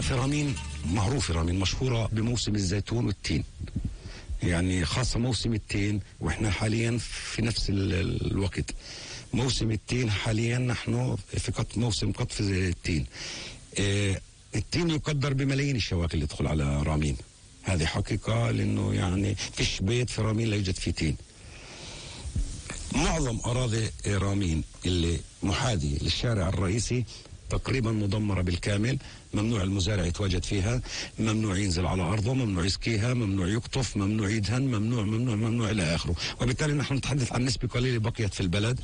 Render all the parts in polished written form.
في رامين معروفة، رامين مشهورة بموسم الزيتون والتين، يعني خاصة موسم التين، وإحنا حاليا في نفس الوقت موسم التين. حاليا نحن في موسم قطف التين. التين يقدر بملايين الشواك اللي تدخل على رامين، هذه حقيقة، لأنه يعني فيش بيت في رامين لا يوجد فيه تين. معظم أراضي رامين اللي محاذية للشارع الرئيسي تقريبا مدمرة بالكامل، ممنوع المزارع يتواجد فيها، ممنوع ينزل على أرضه، ممنوع يسقيها، ممنوع يقطف، ممنوع يدهن، ممنوع إلى آخره. وبالتالي نحن نتحدث عن نسبة قليلة بقيت في البلد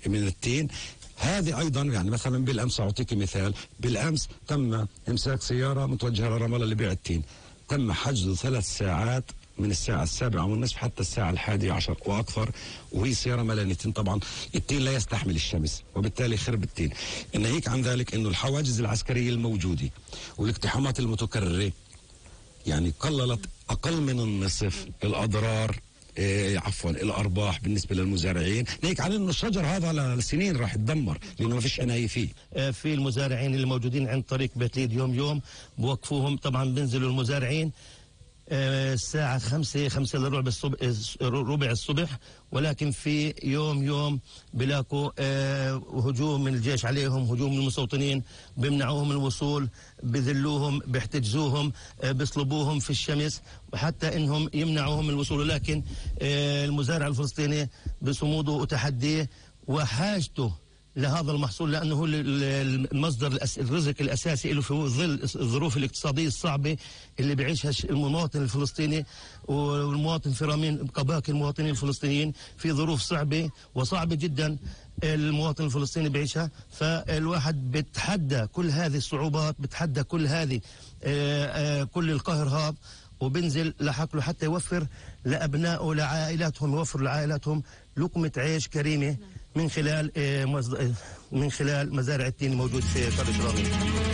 من التين. هذه أيضا يعني مثلا بالأمس أعطيك مثال، بالأمس تم إمساك سيارة متوجهة لرام الله لبيع التين، تم حجزه 3 ساعات من الساعة 7:30 حتى الساعة 11 وأكثر، وهي سيارة مليانة تين. طبعا التين لا يستحمل الشمس وبالتالي خرب التين. ناهيك عن ذلك أنه الحواجز العسكرية الموجودة والاقتحامات المتكررة يعني قللت أقل من النصف الأضرار الأرباح بالنسبة للمزارعين، ناهيك عن أنه الشجر هذا لسنين راح يتدمر لأنه ما فيش عناية فيه. في المزارعين اللي موجودين عند طريق بيت ليد يوم بوقفوهم، طبعا بنزلوا المزارعين الساعة 5 إلا ربع الصبح، ولكن في يوم بلاقوا هجوم من الجيش عليهم، هجوم من المستوطنين، بيمنعوهم الوصول، بذلوهم، بيحتجزوهم، بيصلبوهم في الشمس، وحتى انهم يمنعوهم الوصول. لكن المزارع الفلسطيني بصموده وتحديه وحاجته لهذا المحصول، لأنه هو المصدر الرزق الأساسي له في ظل الظروف الاقتصادية الصعبة اللي بيعيشها المواطن الفلسطيني والمواطن في رامين كباقي المواطنين الفلسطينيين، في ظروف صعبة جدا المواطن الفلسطيني بيعيشها. فالواحد بتحدى كل هذه الصعوبات، بتحدى كل هذه كل القهر هذا، وبنزل لحقله حتى يوفر لأبنائه لعائلاتهم، يوفر لعائلاتهم لقمة عيش كريمة من خلال مزارع التين الموجود في قرية رامين.